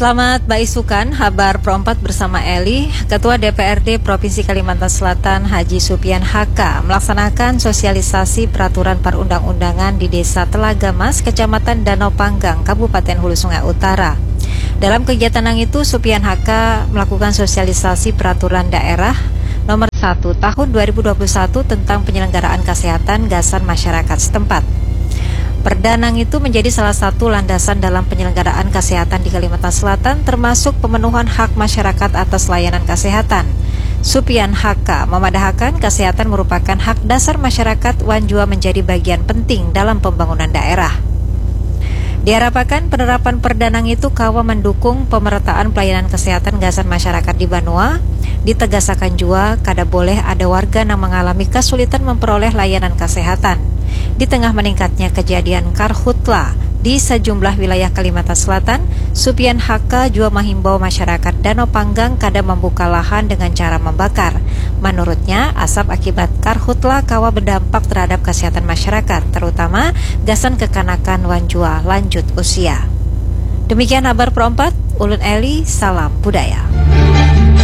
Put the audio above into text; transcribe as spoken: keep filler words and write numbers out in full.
Selamat baisukan, habar Pro empat bersama Eli. Ketua D P R D Provinsi Kalimantan Selatan Haji Supian H K melaksanakan sosialisasi peraturan perundang-undangan di Desa Telaga Mas, Kecamatan Danau Panggang, Kabupaten Hulu Sungai Utara. Dalam kegiatan nang itu, Supian H K melakukan sosialisasi peraturan daerah nomor satu tahun dua ribu dua puluh satu tentang penyelenggaraan kesehatan gasan masyarakat setempat. Perda nang itu menjadi salah satu landasan dalam penyelenggaraan kesehatan di Kalimantan Selatan, termasuk pemenuhan hak masyarakat atas layanan kesehatan. Supian H K memadahakan kesehatan merupakan hak dasar masyarakat wan jua menjadi bagian penting dalam pembangunan daerah. Diharapakan penerapan perda nang itu kawa mendukung pemerataan pelayanan kesehatan gasan masyarakat di banua. Ditegasakan jua, kada boleh ada warga nang mengalami kesulitan memperoleh layanan kesehatan. Di tengah meningkatnya kejadian karhutla di sejumlah wilayah Kalimantan Selatan, Supian H K jua menghimbau masyarakat Danau Panggang kada membuka lahan dengan cara membakar. Menurutnya, asap akibat karhutla kawa berdampak terhadap kesehatan masyarakat, terutama gasan kekanakan wan jua lanjut usia. Demikian habar Pro empat, ulun Eli, salam budaya.